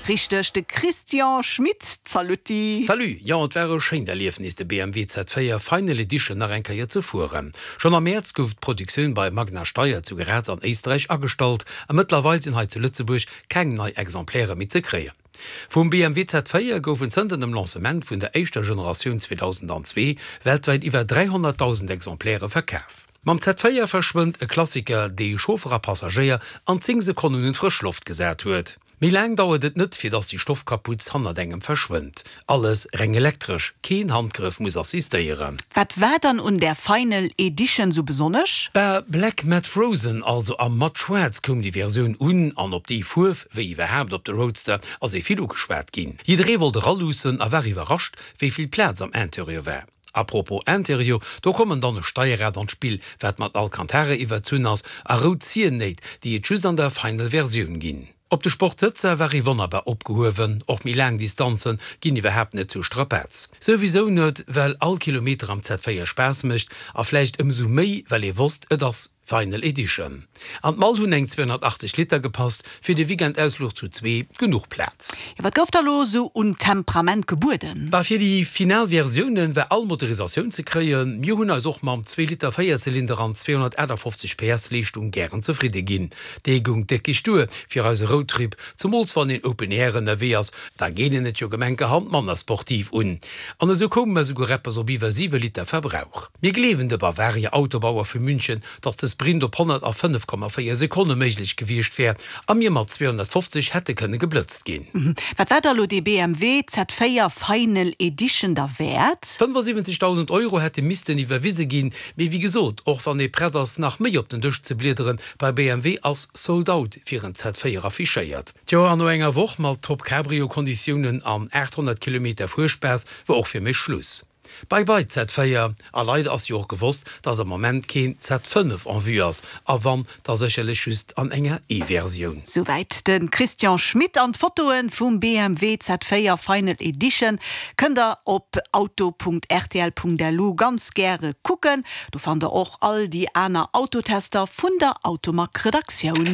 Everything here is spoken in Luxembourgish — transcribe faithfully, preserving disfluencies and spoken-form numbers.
Richteg, de Christian Schmit. Salutti. Salut, jo et war e schéint Erliefnis de B M W Z véier Final Edition nach eng Kéier ze fueren. Schonn am Mäerz gouf d'Produktioun bei Magna Steyr zu Graz an Éisträich agestallt a mëttlerweil sinn hei zu Lëtzebuerg keng nei Exemplaire méi ze kréien. Vum B M W Z véier goufen zënter dem Lancement vun der éischter Generatioun zweedausendenzwee weltwäit iwwer dräihonnertdausend Exemplaire verkaf. Mam Z véier verschwënnt e Klassiker, dee Chauffer a Passagéier an zéng Sekonnen un d'frësch Loft gesat huet. Méi laang dauert et net, fir dass déi Stoffkaputz hannert engem verschwënnt. Alles reng elektresch, keen Handgrëff muss assistéieren. Wat war dann un der Final Edition sou besonnesch? Bah, Black Matt Frozen, also a matt schwaarz koum déi Versioun un, an op déi Fuerf, wéi iwwerhaapt op de Roadster, ass ee vill ugeschwat ginn. Jidderee wollt eraluussen a war iwwerrascht, wéi vill Plaz am Interieur war. A propos Interieur, do kommen dann e Steierrad an d'Spill, wat mat Alcantara iwwerzunn ass, a rout Ziernéit, déi et just an der Final Versioun ginn. Op de Sportsëtzer war ee wonnerbar opgehuewen, och méi laang Distanze ginn iwwerhaapt net zur Strapaz. Souwisou net, well all Kilometer am Z véier Spaass mécht a vläicht ëmsou méi, well ee wosst, et ass Final Edition. An d'Mall hunn eng zweehonnertachtzeg Liter gepasst, fir de Weekendausfluch zu zwee genuch Plaz. Jo, wat gouf da lo sou un Temperament gebueden? Bah, fir déi final Versiounen war all Motorisatioun ze kréien. Mir hunn eis och mam zwee Liter Véierzylinder an zweehonnertaachtafoffzeg P S Leeschtung gären zefridde ginn. Dee goung déckeg duer fir eise Roadtrip, zemools wann een Open Air ënnerwee ass, da geet een et jo gemenkerhand manner sportiv un. An esou koume mer souguer eppes op iwwer siwe Liter Verbrauch. Mir gleewen de Bavaria Autobauer vu München, dass de Sprint op honnert a fënnef Komma véier Sekonne méiglech gewiescht wär a mir mat zweehonnertfofzeg hätte kënne geblëtzt ginn. Wat war da lo dee B M W Z véier Final Edition da wäert? Fënnefasiwwenzegdausend Euro hätte missten iwwerwise ginn, mee wéi gesot, och wann ee prett ass nach méi op den Dësch ze bliederen, bei B M W ass Sold Out fir en Z véier affichéiert. Tjo, an no enger Woch mat Top Cabrio Konditiounen an aathonnert Kilometer Fuerspaass war och fir mech Schluss. Bye bye Z véier, a leider ass jo och gewosst, dass am Moment keen Z fënnef en vue ass, a wann, da sécherlech just an enger E-Versioun. Souwäit de Christian Schmit. An d'Fotoe vum B M W Z véier Final Edition kënnt der op auto Punkt R T L Punkt L U ganz gäre kucken. Do fannt der och all déi aner Autotester vun der Automag Redaktioun.